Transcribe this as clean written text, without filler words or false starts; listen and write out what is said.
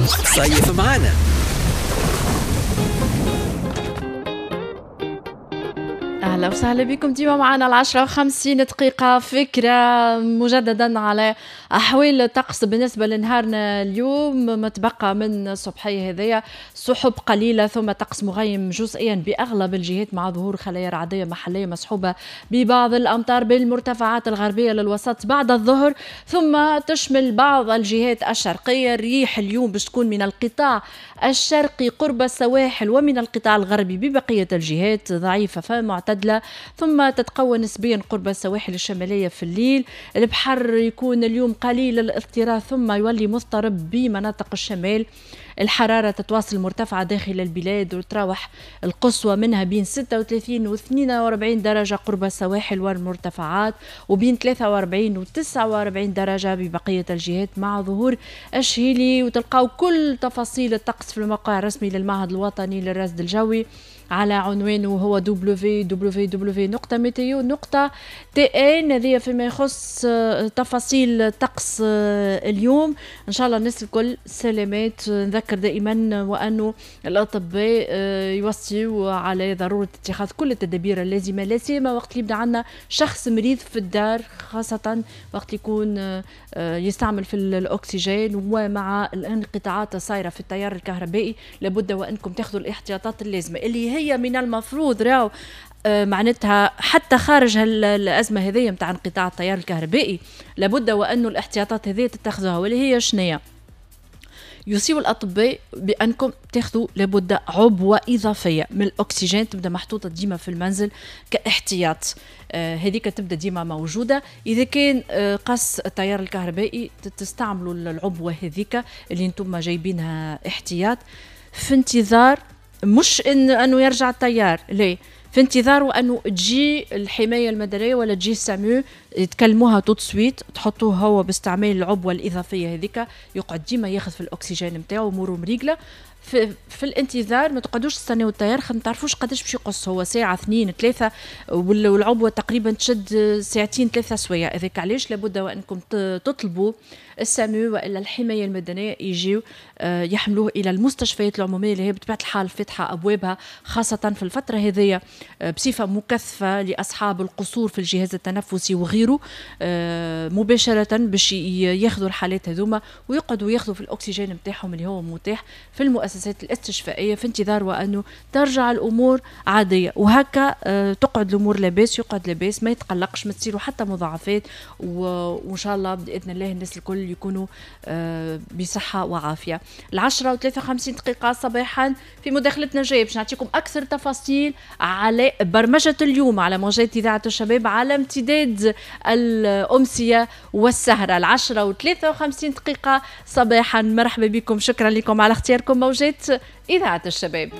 صيف معانا. أهلا وسهلا بكم ديما معنا 10:50. فكرة مجددا على أحوال الطقس بالنسبة لنهارنا اليوم. ما تبقى من الصبحية هذيا سحب قليلة ثم طقس مغيم جزئيا بأغلب الجهات مع ظهور خلايا رعدية محلية مصحوبة ببعض الأمطار بالمرتفعات الغربية للوسط بعد الظهر، ثم تشمل بعض الجهات الشرقية. الريح اليوم باش تكون من القطاع الشرقي قرب السواحل ومن القطاع الغربي ببقية الجهات ضعيفة فمعتدلة، ثم تتقوى نسبيا قرب السواحل الشمالية في الليل. البحر يكون اليوم قليل الاضطراب ثم يولي مضطرب بمناطق الشمال. الحرارة تتواصل مرتفعة داخل البلاد وتراوح القصوى منها بين 36 و 42 درجة قرب السواحل والمرتفعات، وبين 43 و 49 درجة ببقية الجهات مع ظهور الشهيلي. وتلقاو كل تفاصيل الطقس في الموقع الرسمي للمعهد الوطني للرصد الجوي على عنوانه هو www.meteo.tn. هذه فيما يخص تفاصيل طقس اليوم. ان شاء الله الناس الكل سلامات. نذكر دائما وانه الاطباء يوصيوا على ضرورة اتخاذ كل التدابير اللازمة، لا سيما وقت اللي يبدا عندنا شخص مريض في الدار، خاصة وقت يكون يستعمل في الاكسجين، ومع الانقطاعات الصايره في التيار الكهربائي لابد وانكم تاخذوا الاحتياطات اللازمة اللي هي من المفروض راو معناتها حتى خارج الأزمة هذه متاع انقطاع التيار الكهربائي لابد وأنه الاحتياطات هذه تتخذوها، واللي هي شنية؟ يوصيوا الأطباء بأنكم تاخذوا لابد عبوة إضافية من الأكسجين تبدأ محطوطة ديما في المنزل كاحتياط. هذيك تبدأ ديما موجودة. إذا كان قص التيار الكهربائي تستعملوا العبوة هذيك اللي انتم جايبينها احتياط، في انتظار مش انه يرجع التيار، ليه؟ في انتظار انه تجي الحماية المدنية ولا تجي ال SAMU يتكلموها tout de suite، تحطوه هو باستعمال العبوه الاضافية هذيك، يقعد ديما ياخذ في الاكسجين نتاعو اموره مريقله. في الانتظار ما تقعدوش تستناو التيار، خاطر ما تعرفوش قداش باش يقص، هو ساعة 2 3 والعبوه تقريبا تشد ساعتين 3 سوايع. هذاك علاش لابد وانكم تطلبوا ال SAMU والا الحماية المدنية يجيو يحملوه الى المستشفيات العمومية اللي هي بطبيعة الحال فاتحة ابوابها خاصة في الفترة هذيا بصفة مكثفة لاصحاب القصور في الجهاز التنفسي وغيره، مباشرة باش ياخذوا الحالات هذوما ويقعدوا ياخذوا في الاكسجين نتاعهم اللي هو متاح في المؤسسات الاستشفائيه، في انتظار وانه ترجع الامور عادية. وهكا تقعد الامور لاباس، يقعد لاباس، ما يتقلقش، ما تصيروا حتى مضاعفات، وان شاء الله باذن الله الناس الكل يكونوا بصحة وعافيه. 10:53 صباحا في مداخلتنا الجاية باش نعطيكم اكثر تفاصيل على برمجة اليوم على موجات اذاعة الشباب على امتداد الامسيه والسهره. 10:53 صباحا. مرحبا بكم، شكرا لكم على اختياركم موجات اذاعة الشباب.